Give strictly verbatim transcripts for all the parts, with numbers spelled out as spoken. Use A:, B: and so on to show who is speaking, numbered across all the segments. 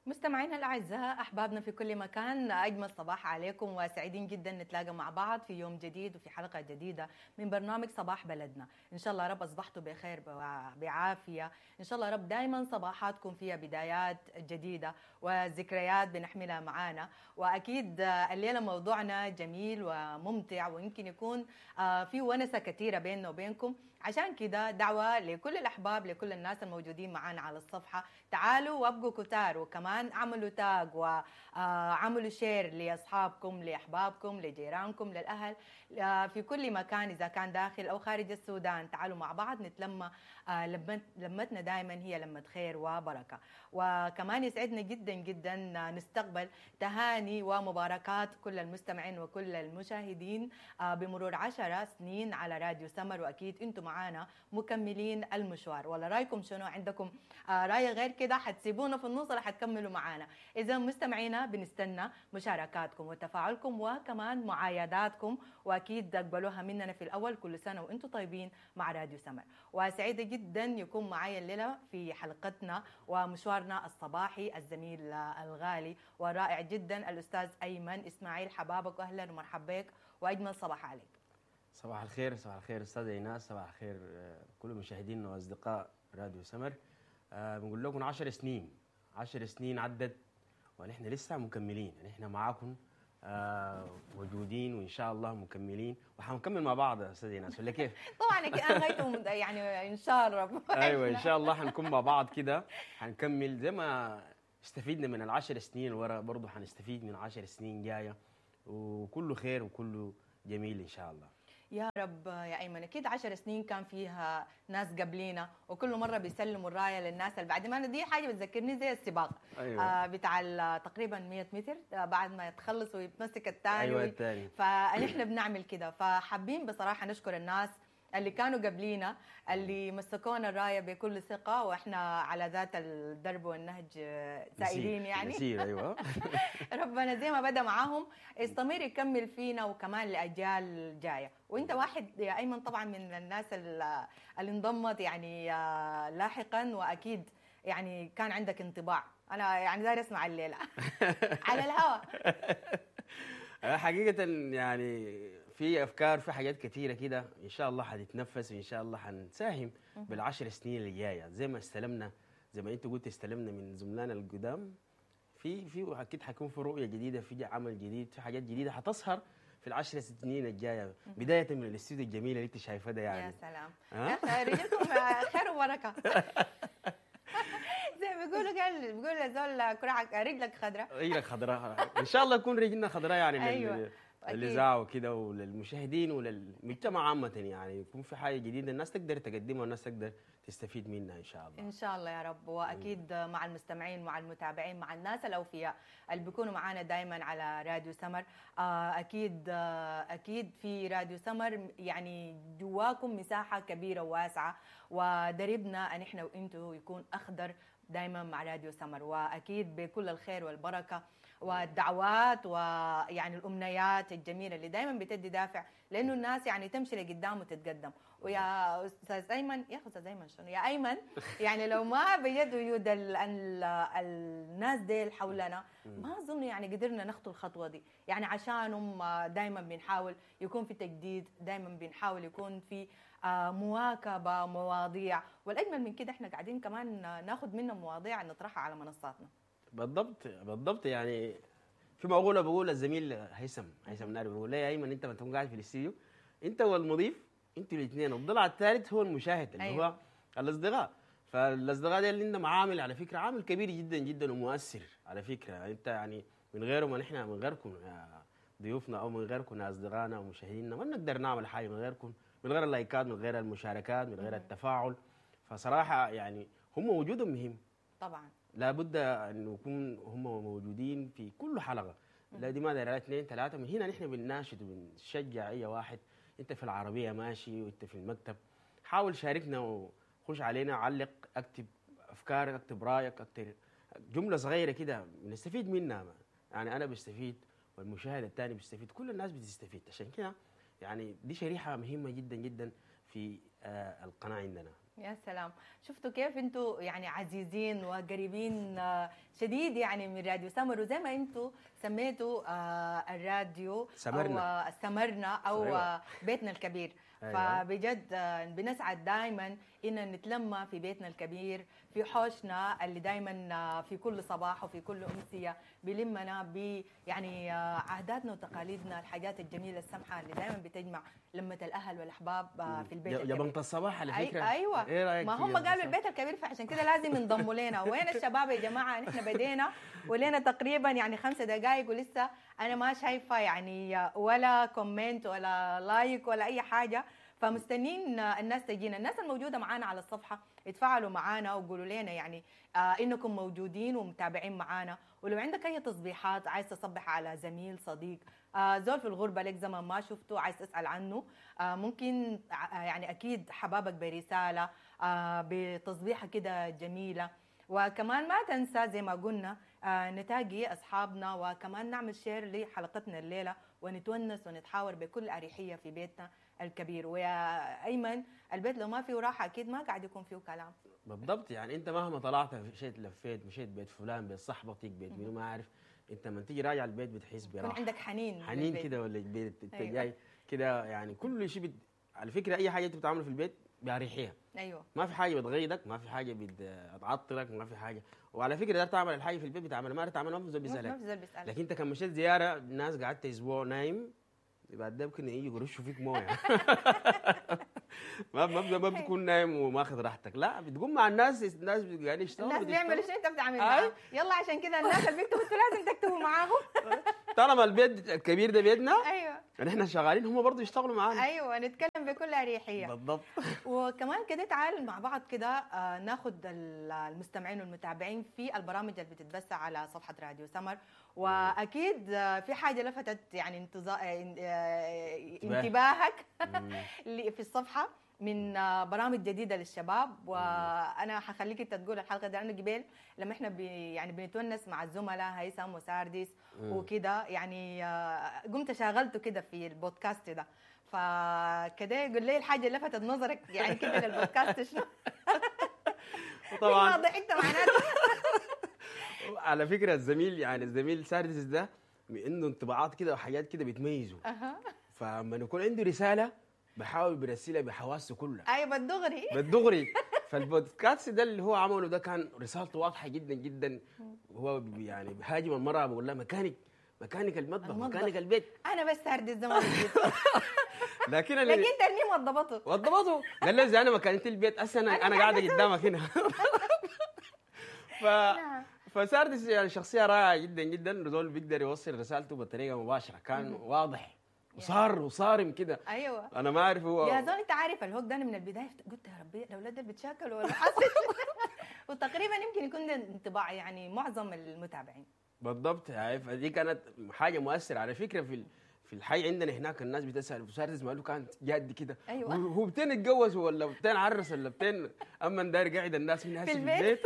A: مستمعينا الأعزاء، أحبابنا في كل مكان، أجمل صباح عليكم وسعيدين جدا نتلاقى مع بعض في يوم جديد وفي حلقة جديدة من برنامج صباح بلدنا. إن شاء الله رب أصبحتوا بخير وبعافية، إن شاء الله رب دايما صباحاتكم فيها بدايات جديدة وذكريات بنحملها معانا. وأكيد الليلة موضوعنا جميل وممتع ويمكن يكون في ونسة كثيرة بيننا وبينكم، عشان كده دعوة لكل الأحباب، لكل الناس الموجودين معانا على الصفحة، تعالوا وابقوا كتار، وكمان عملوا tag وعملوا share لأصحابكم، لأحبابكم، لجيرانكم، للأهل في كل مكان، إذا كان داخل أو خارج السودان. تعالوا مع بعض نتلمى، لمتنا دائما هي لمة خير وبركة. وكمان يسعدنا جدا جدا نستقبل تهاني ومباركات كل المستمعين وكل المشاهدين بمرور عشرة سنين على راديو سمر، وأكيد أنتم معانا مكملين المشوار. ولا رايكم شنو؟ عندكم راي غير كده؟ حتسيبونا في النص ولا حتكملوا معانا؟ إذا مستمعينا بنستنى مشاركاتكم وتفاعلكم وكمان معايداتكم، وأكيد تقبلوها مننا في الأول. كل سنة وأنتم طيبين مع راديو سمر. وسعيدة جدا يكون معايا الليلة في حلقتنا ومشوارنا الصباحي الزميل الغالي والرائع جدا الأستاذ أيمن إسماعيل. حبابك وأهلا ومرحبا بك وأجمل صباح عليك.
B: صباح الخير. صباح الخير أستاذ إيناس، صباح الخير كل مشاهدينا وأصدقاء راديو سمر. أه بنقول لكم عشر سنين، عشر سنين عدت ونحن لسه مكملين، نحن معاكم آه موجودين وان شاء الله مكملين وحنكمل مع بعض يا استاذ ايناس، ولا كيف؟
A: طبعا انا غايته يعني ان شاء الله.
B: ايوه ان شاء الله حنكون مع بعض كده، حنكمل زي ما استفيدنا من العشر سنين ورا، برضه حنستفيد من عشر سنين جاية، وكله خير وكله جميل ان شاء الله
A: يا رب. يا أيمن أكيد عشر سنين كان فيها ناس قبلينا وكل مرة بيسلموا الراية للناس اللي بعد ما دي حاجة بتذكرني زي السباق. أيوة. آه بتاع تقريبا مية متر، آه بعد ما يتخلص ويتمسك الثاني.
B: أيوة الثاني.
A: فنحن بنعمل كده، فحابين بصراحة نشكر الناس اللي كانوا قبلينا، اللي مسكونا الراية بكل ثقة، واحنا على ذات الدرب والنهج سائرين يعني.
B: نسير. ايوه.
A: ربنا زي ما بدا معاهم استمر يكمل فينا وكمان لاجيال جاية. وانت واحد يا ايمن طبعا من الناس اللي انضمت يعني لاحقا، واكيد يعني كان عندك انطباع. انا يعني داير اسمع الليلة على الهواء.
B: حقيقة يعني في افكار، في حاجات كثيرة كده ان شاء الله حتتنفس، وان شاء الله حنساهم بالعشر سنين اللي جاية. زي ما استلمنا، زي ما انت قلت استلمنا من زملائنا القدام، في في اكيد حيكون في رؤية جديدة، في عمل جديد، في حاجات جديدة حتظهر في العشر سنين الجاية، بداية من الاستوديو الجميل اللي انت شايفاه ده يعني.
A: يا سلام، رجلكم خير وبركة. زي ما بيقولوا، قال بيقولوا زول كرعك رجلك خضراء.
B: رجلك خضراء ان شاء الله يكون رجلنا خضراء يعني.
A: أيوة.
B: للإذاعة وكده وللمشاهدين وللمجتمع عامة، يعني يكون في حاجة جديدة الناس تقدر تقدمها والناس تقدر تستفيد منها إن شاء الله.
A: إن شاء الله يا رب. وأكيد مع المستمعين، مع المتابعين، مع الناس الأوفياء اللي بيكونوا معانا دايما على راديو سمر. أكيد أكيد في راديو سمر يعني جواكم مساحة كبيرة وواسعة، ودربنا أن إحنا وإنتوا يكون أخضر دايما مع راديو سمر، وأكيد بكل الخير والبركة والدعوات ويعني الأمنيات الجميلة اللي دايما بتدي دافع لأنه الناس يعني تمشي لقدام وتتقدم. ويا أستاذ أيمن، يا أستاذ أيمن شنو يا أيمن، يعني لو ما بيد وجود ال ال الناس ديل حولنا ما أظن يعني قدرنا نخطو الخطوة دي. يعني عشانهم دايما بنحاول يكون في تجديد، دايما بنحاول يكون في مواكبة مواضيع، والأجمل من كده احنا قاعدين كمان ناخد منهم مواضيع نطرحها على منصاتنا.
B: بالضبط بالضبط. يعني في مقولة بقول الزميل هيثم هيثم ناري، بيقول لي يا ايمن انت ما تكون قاعد في الاستديو انت والمضيف، انتوا الاثنين، الضلع الثالث هو المشاهد اللي أيوة. هو الاصدقاء. فالاصدقاء دي اللي عندهم عامل على فكرة، عامل كبير جدا جدا ومؤثر على فكرة. انت يعني من غيرهم نحن، من غيركم يا ضيوفنا او من غيركم يا اصدقائنا ومشاهدينا ما نقدر نعمل حاجة من غيركم، من غير اللايكات، من غير المشاركات، من غير التفاعل. فصراحة يعني هم وجودهم مهم
A: طبعا،
B: لابد ان يكون هم موجودين في كل حلقة. لا دي ما دايرة اثنين ثلاثة. من هنا نحن بنناشد وبنشجع اي واحد، انت في العربية ماشي وانت في المكتب، حاول شاركنا وخش علينا، علق، اكتب افكارك، اكتب رايك، اكتب جملة صغيرة كده بنستفيد منها. يعني انا بستفيد والمشاهد الثاني بيستفيد، كل الناس بتستفيد. عشان كده يعني دي شريحة مهمة جدا جدا في آه القناة عندنا.
A: يا سلام، شفتوا كيف انتوا يعني عزيزين وقريبين آه، شديد يعني من راديو سمر، وزي ما انتوا سميتوا آه، الراديو
B: سمرنا.
A: او آه، سمرنا او
B: أيوة.
A: آه، بيتنا الكبير.
B: أيوة.
A: فبجد آه، بنسعد دائما ان نتلمى في بيتنا الكبير، في حوشنا اللي دائما في كل صباح وفي كل امسية بيلمنا ب يعني آه، عاداتنا وتقاليدنا، الحاجات الجميلة السمحة اللي دائما بتجمع لمه الاهل والاحباب آه، في البيت الكبير.
B: جبنة الصباح على
A: أي
B: فكرة.
A: ايوه
B: ايه رايك
A: ما
B: في
A: هم
B: جبنة
A: قالوا
B: الصباح؟
A: البيت الكبير، فعشان كده لازم ينضموا لنا. وين الشباب يا جماعة؟ نحن بدينا ولينا تقريبا يعني خمسة دقائق ولسه انا ما شايفه يعني ولا comment ولا like ولا اي حاجة، فمستنين الناس تجينا. الناس الموجودة معانا على الصفحة يتفاعلوا معانا وقولوا لنا يعني آه انكم موجودين ومتابعين معانا، ولو عندك اي تصبيحات عايز تصبح على زميل صديق آه زول في الغربة لك زمان ما شفته عايز تسال عنه، آه ممكن آه يعني اكيد حبابك برسالة آه بتصبيحه كده جميلة. وكمان ما تنسى زي ما قلنا آه نتاقي اصحابنا، وكمان نعمل share لحلقتنا الليلة ونتونس ونتحاور بكل اريحية في بيتنا الكبير. ويا ايمن، البيت لو ما فيه راحة اكيد ما قاعد يكون فيه كلام.
B: بالضبط، يعني انت مهما طلعت مشيت لفيت مشيت بيت فلان، بيت صاحبتك، بيت منو ما عارف، انت لما تيجي راجع البيت بتحس
A: يكون
B: براحة،
A: عندك حنين
B: حنين
A: للبيت.
B: كده، ولا البيت انت
A: أيوة.
B: جاي كده يعني كل شيء بت... على فكرة اي حاجة انت بتعمله في البيت باريحية،
A: ايوه
B: ما في حاجة بتغيظك، ما في حاجة بتعطلك، ما في حاجة. وعلى فكرة دار تعمل الحاجة في البيت بتعملها، ما تعملها ما في زول
A: ما
B: بيسالك.
A: في زول بيسالك.
B: لكن انت كان مشيت زيارة الناس قعدت اسبوع نايم، بعد ده ممكن يجي يرشوا فيك مويه. ما ما ما بتكون نايم وماخذ راحتك، لا بتقوم مع الناس، الناس قاعدين يشتغلوا،
A: الناس بيعملوا
B: بتشتغل.
A: شنو انت بتعمل
B: أي.
A: معاهم. يلا عشان كده الناس اللي بيكتبوا انتوا لازم تكتبوا معاهم.
B: طالما البيت الكبير ده بيتنا،
A: ايوه
B: نحن شغالين هم برضه يشتغلوا معانا.
A: ايوه نتكلم بكل اريحية.
B: بالضبط.
A: وكمان كده تعال مع بعض كده آه، ناخد ال- المستمعين والمتابعين في البرامج اللي بتتبث على صفحة راديو سمر، واكيد آه، في حاجة لفتت يعني انتظا... آه، آه، انتباهك
B: مم.
A: اللي في الصفحة من آه، برامج جديدة للشباب، وانا حخليك انت تقول الحلقة دي، لانه قبل لما احنا بي يعني بنتونس مع الزملاء هيثم وسارديس
B: مم.
A: وكده يعني آه، قمت شغلته كده في البودكاست ده، فكده يقول لي الحاجة اللي لفتت نظرك يعني كده للبودكاست شنو؟ ما
B: طبعا
A: ضحكت معناته.
B: على فكرة الزميل يعني الزميل ساردس ده عنده انطباعات كده وحاجات كده بتميزه،
A: اها
B: فلما يكون عنده رسالة بحاول برسلها بحواسه كلها.
A: ايوه بالدغري.
B: بالدغري. فالبودكاست ده اللي هو عمله ده كان رسالته واضحة جدا جدا، هو بي- يعني بيهاجم المراة، بيقول لها مكانك مكانك المطبخ،
A: المطبخ.
B: مكانك البيت.
A: انا بس ساردس زمان
B: لكن اللي
A: لكن ترنيم وضبطه.
B: وضبطه قال له اذا انا مكانتي البيت هسه انا انا قاعدة قدامك هنا. ف
A: نعم.
B: فساردس يعني شخصية رائعة جدا جدا، زول بيقدر يوصل رسالته بطريقة مباشرة، كان واضح وصار وصارم كده.
A: ايوه
B: انا ما اعرف هو
A: يا زول انت عارف الهوك ده، انا من البداية قلت يا ربي الاولاد دول بيتشاكلوا ولا حصل؟ وتقريبا يمكن يكون ده انطباع يعني معظم المتابعين.
B: بالضبط يعني، فدي كانت حاجة مؤثرة على فكرة في ال- في الحي عندنا هناك الناس بتسال ساردس ماله كانت جاد كده.
A: أيوة.
B: هو هو بتين اتجوز ولا بتين عرس ولا بتين اما داير قاعد الناس من
A: في
B: هسه في
A: البيت.
B: البيت.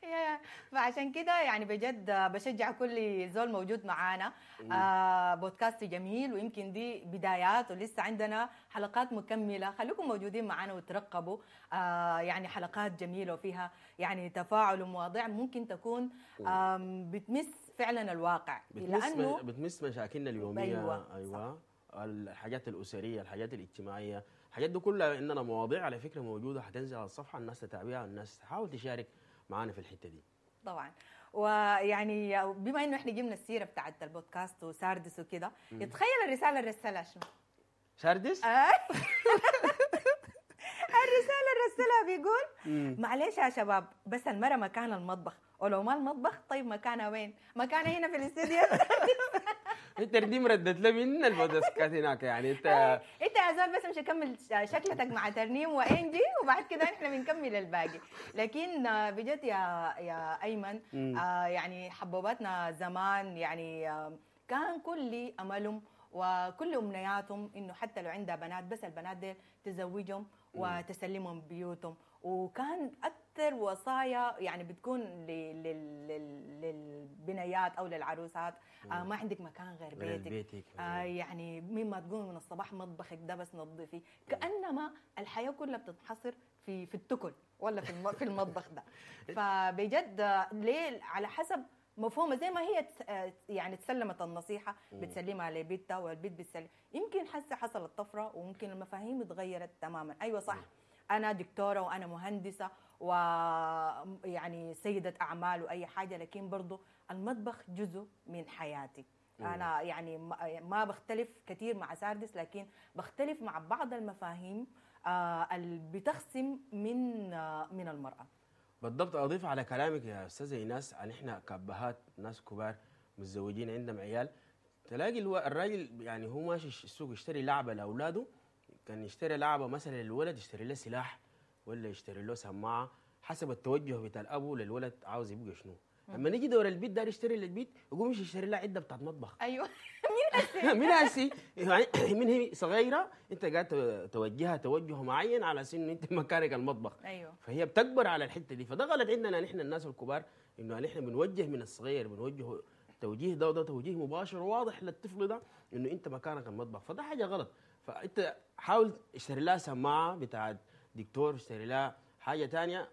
A: يا- فعشان كده يعني بجد بشجع كل زول موجود معانا. آه بودكاست جميل، ويمكن دي بدايات ولسه عندنا حلقات مكملة، خليكم موجودين معانا وترقبوا آه يعني حلقات جميلة وفيها يعني تفاعل ومواضيع ممكن تكون آم، بتمس فعلا الواقع.
B: بتمس
A: لانه
B: بتمس مشاكلنا اليومية.
A: أيوة،
B: ايوه الحاجات الاسرية، الحاجات الاجتماعية، الحاجات دي كلها عندنا مواضيع على فكرة موجودة حتنزل على الصفحة، الناس تتابعها، الناس تحاول تشارك معانا في الحتة دي.
A: طبعا. ويعني بما انه احنا جبنا السيرة بتاعت البودكاست وساردس وكده، تخيل الرسالة اللي رسلها شنو؟
B: ساردس؟
A: آه. الرسالة اللي رسلها بيقول معلش يا شباب، بس المرة مكان المطبخ، ولو ما المطبخ طيب مكانها وين؟ مكانها هنا في الاستديو.
B: انت دي مردت لي من البودكاست هناك يعني انت
A: انت يا زول بس مش كمل شكلتك مع ترنيم وانجي، وبعد كده احنا بنكمل الباقي. لكن بجد يا يا ايمن،
B: مم.
A: آه يعني حبوباتنا زمان يعني آه كان كل املهم وكل امنياتهم انه حتى لو عندها بنات بس البنات دي تزوجهم وتسلمهم بيوتهم، وكان اكثر وصايا يعني بتكون ل- لل- لل- للبنيات او للعروسات، آه ما عندك مكان غير
B: غير
A: بيتك،
B: بيتك.
A: آه يعني مما تقومي من الصباح مطبخك ده بس نظفي، كانما الحياة كلها بتنحصر في في التكل ولا في الم- في المطبخ ده. فبجد آه، ليه على حسب مفهومه، زي ما هي تس- آه، يعني تسلمت النصيحة بتسلمها لبيتها والبيت بتسلم. يمكن حسه حصلت طفرة وممكن المفاهيم اتغيرت تماما. ايوه صح، انا دكتورة وانا مهندسه ويعني سيده اعمال واي حاجة، لكن برضو المطبخ جزء من حياتي. انا يعني ما- ما بختلف كثير مع ساردس، لكن بختلف مع بعض المفاهيم آه، اللي بتخصم من آه، من المراة.
B: بالضبط. اضيف على كلامك يا استاذه ايناس، عن احنا كابهات ناس كبار متزوجين عندهم عيال، تلاقي الو... الراجل يعني هو ماشي السوق يشتري لعبه لاولاده، كان يشتري لعبه مثلا للولد يشتري له سلاح ولا يشتري له سماعه، حسب التوجه بتاع الابو للولد عاوز يبقى شنو. لما نيجي دور البيت دار يشتري للبيت، يقوم يمشي يشتري لها عده بتاعت مطبخ.
A: ايوه
B: من هسي يعني من هي صغيرة انت قاعد توجهها توجه معين على اساس انه انت مكانك المطبخ.
A: ايوه
B: فهي بتكبر على الحتة دي. فده غلط عندنا نحن الناس الكبار، انه نحن بنوجه من الصغير، بنوجهه توجيه ده وده توجيه مباشر وواضح للطفل ده انه انت مكانك المطبخ، فده حاجة غلط. فانت حاول اشتري لها سماعه بتاعت دكتور، اشتري لها حاجة ثانية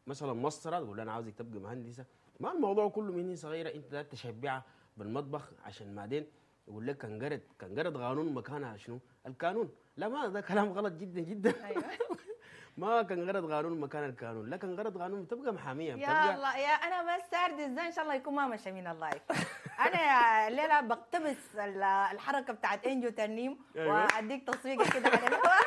B: مثلا مسطرة، تقول لها انا عاوزك تبقى مهندسه. ما الموضوع كله من هي صغيرة انت لا تشبعها بالمطبخ، عشان بعدين يقول لك كان قرد كان قرد قانون مكانها شنو؟ القانون. لا، ما ده كلام غلط جدا جدا.
A: ايوه
B: ما كان غرض قانون مكان القانون، لا كان غرض قانون بتبقى محاميه
A: يا
B: بتبقى
A: الله يا انا بس ساردس ده ان شاء الله يكون ما مشى من ال live. انا يا الليلة بقتبس ال- الحركة بتاعت انجو ترنيم
B: أيوة.
A: واديك تصفيقه كده على الهواء.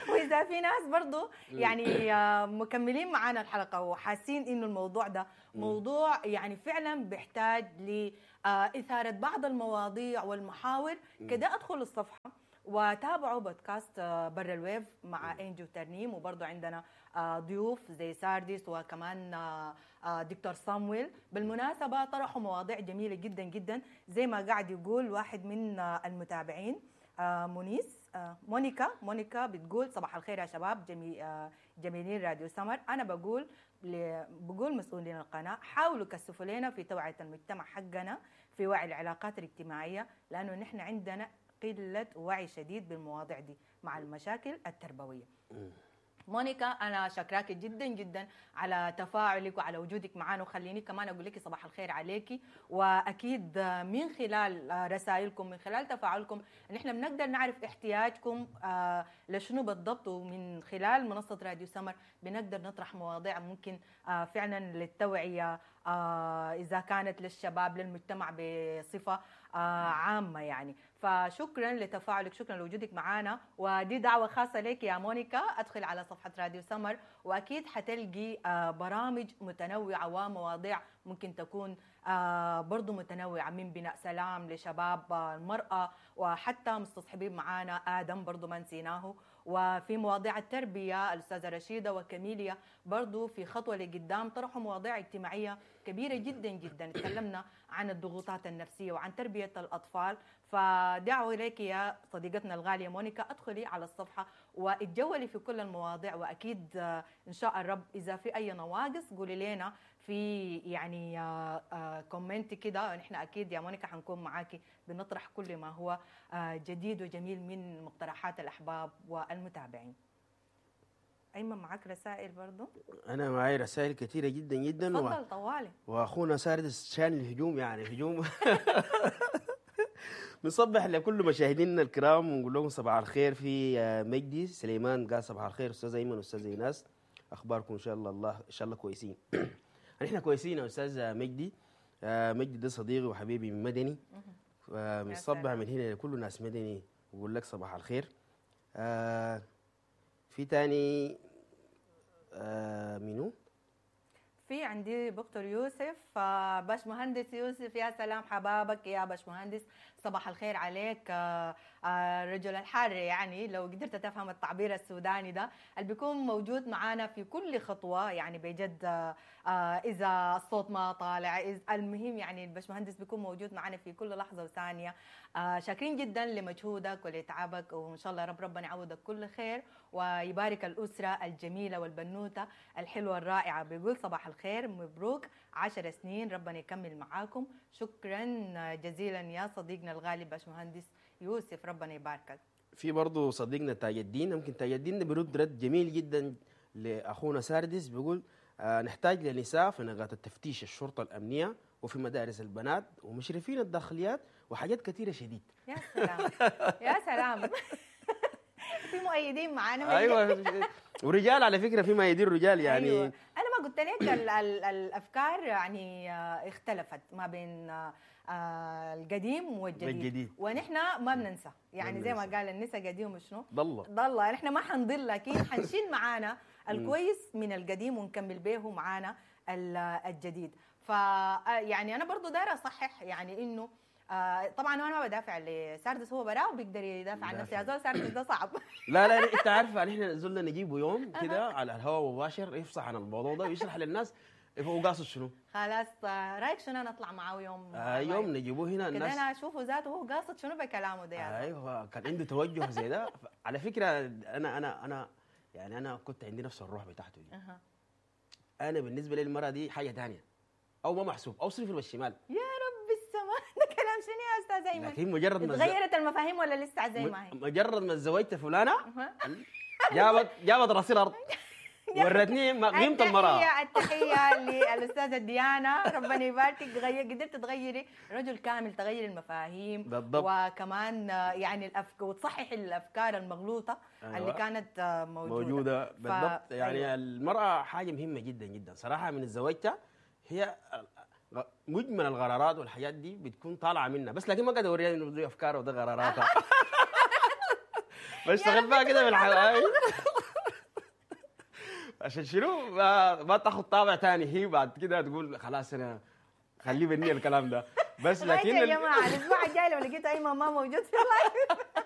A: واذا في ناس برضو يعني آه، مكملين معانا الحلقة وحاسين انه الموضوع ده موضوع يعني فعلا بيحتاج لاثاره بعض المواضيع والمحاور كده، ادخلوا الصفحة وتابعوا بودكاست آه، برا ال wave مع انجو ترنيم، وبرضو عندنا آه، ضيوف زي سارديس وكمان آه، آه، دكتور صامويل. بالمناسبة طرحوا مواضيع جميلة جدا جدا، زي ما قاعد يقول واحد من آه، المتابعين آه، مونيس آه، مونيكا مونيكا بتقول صباح الخير يا شباب جمي آه، جميلين راديو سمر. انا بقول ل- بقول مسؤولين القناة حاولوا كثفوا لنا في توعيه المجتمع حقنا في وعي العلاقات الاجتماعية، لانه نحن عندنا قلة وعي شديد بالمواضيع دي مع المشاكل التربوية. مونيكا انا شكراك جدا جدا على تفاعلك وعلى وجودك معنا، وخليني كمان اقول لك صباح الخير عليكي. واكيد من خلال رسائلكم، من خلال تفاعلكم، نحن بنقدر نعرف احتياجكم آه، لشنو بالضبط، ومن خلال منصة راديو سمر بنقدر نطرح مواضيع ممكن آه، فعلا للتوعية، آه، اذا كانت للشباب للمجتمع بصفة آه، عامة يعني. فشكرا لتفاعلك، شكرا لوجودك معنا، ودي دعوه خاصة لك يا مونيكا، ادخل على صفحة راديو سمر واكيد حتلقي آه، برامج متنوعة ومواضيع ممكن تكون آه، برضو متنوعة، من بناء سلام لشباب آه، المراة، وحتى مستصحبين معانا ادم برضو ما نسيناه، وفي مواضيع التربية الاستاذة رشيده وكاميليا برضو في خطوة لقدام طرحوا مواضيع اجتماعية كبيرة جدا جدا، تكلمنا عن الضغوطات النفسية وعن تربيه الاطفال. فدعوه اليك يا صديقتنا الغالية مونيكا، ادخلي على الصفحة واتجولي في كل المواضيع، واكيد آه، ان شاء الرب اذا في اي نواقص قولي لنا في يعني آه، آه، comment كده، نحن اكيد يا مونيكا حنكون معاكي بنطرح كل ما هو آه، جديد وجميل من مقترحات الاحباب والمتابعين. ايمن معاك رسائل برضو؟
B: انا معي رسائل كثيرة جدا جدا و...
A: تفضل طوالي.
B: واخونا ساردس شان الهجوم، يعني هجوم. نصبح لكل مشاهدينا الكرام ونقول لهم صباح الخير. في آه، مجدي سليمان قال صباح الخير استاذ ايمن واستاذ ايناس، اخباركم ان شاء الله الله ان شاء الله كويسين. نحن كويسين يا استاذ مجدي. آه، مجدي ده صديقي وحبيبي من مدني، فبنصبح
A: سلام.
B: من هنا لكل ناس مدني ويقول لك صباح الخير. آه، في تاني آه، منو؟
A: في عندي دكتور يوسف، آه، باش مهندس يوسف، يا سلام حبابك يا باش مهندس، صباح الخير عليك. آه، آه، رجل الحار، يعني لو قدرت تفهم التعبير السوداني ده اللي بيكون موجود معانا في كل خطوة، يعني بجد آه، آه، إذا الصوت ما طالع، إذا المهم يعني الباشمهندس بيكون موجود معنا في كل لحظة وثانية. آه، شاكرين جدا لمجهودك ولتعبك، وإن شاء الله رب ربنا يعوضك كل خير ويبارك الأسرة الجميلة والبنوتة الحلوة الرائعة. بيقول صباح الخير، مبروك عشر سنين، ربنا يكمل معاكم. شكرا جزيلا يا صديقنا الغالي باشمهندس يوسف، ربنا يباركك.
B: في برضه صديقنا تاج الدين، ممكن تاج الدين ده بيرد رد جميل جدا لاخونا ساردس، بيقول آه نحتاج لنساء في نقاط التفتيش الشرطة الامنية وفي مدارس البنات ومشرفين الداخليات وحاجات كثيرة شديد.
A: يا سلام يا سلام. في مؤيدين معانا.
B: ايوه، ورجال على فكرة، في مؤيدين رجال يعني.
A: أيوة. انا ما قلت لك ال ال الافكار يعني آه، اختلفت ما بين آه، آه، القديم والجديد،
B: والجديد.
A: ونحن ما بننسى يعني، زي ما
B: بننسى.
A: قال النسا قديم وشنو
B: ضل
A: ضل، نحن ما حنضل، لكن حنشيل معانا الكويس من القديم ونكمل به معانا ال- الجديد. ف يعني انا برضو دايرة اصحح يعني انه آه، طبعا انا ما بدافع لساردس، هو براه بيقدر يدافع عن نفسه. يا زول ساردس ده صعب.
B: لا لا، انت عارفه نحن زلنا نجيبه يوم كده على الهواء مباشر يفصح عن الموضوع ده ويشرح للناس هو قاصد شنو.
A: خلاص، آه، رايك شنو نطلع معاه يوم؟
B: آه يوم نجيبوه هنا
A: كده
B: الناس
A: انا اشوفه ذاته هو قاصد شنو بكلامه ده يا زول.
B: ايوه، كان عنده توجه زي ده. على فكرة انا انا انا يعني انا كنت عندي نفس الروح بتاعته دي.
A: أها.
B: انا بالنسبة لي المراة دي حاجة ثانية او ما محسوب او صفر بالشمال.
A: يا رب السماء، ده كلام شنو يا استاذ ايمن؟
B: لكن مجرد ما
A: تغيرت المفاهيم ولا لسه زي ما هي؟
B: مجرد ما تزوجت فلانه
A: أها.
B: جابت جابت راسي الارض، ورتني ما قيمة المراة.
A: التحية التحية للأستاذة ديانا، ربنا يباركك، غير قدرت تغيري رجل كامل، تغيري المفاهيم
B: بالضبط.
A: وكمان آه، يعني الأفك... وتصححي الأفكار المغلوطة
B: أيوة.
A: اللي كانت آه، موجودة
B: موجودة
A: ف-
B: بالضبط. يعني
A: أيوة.
B: المراة حاجة مهمة جدا جدا صراحة. من تزوجتها هي مجمل القرارات والحاجات دي بتكون طالعه منها، بس لكن ما قاعد اوريها انه دي افكار وده قراراتها، بشتغل بها كده بالحلقة عشان شنو ما, ما تاخذ طابع ثاني، هي بعد كده تقول خلاص انا خليه بني الكلام ده بس.
A: لكن
B: لكن
A: يا
B: ال-
A: جماعة الأسبوع الجاي لو لقيت أيمن ما موجود في ال live.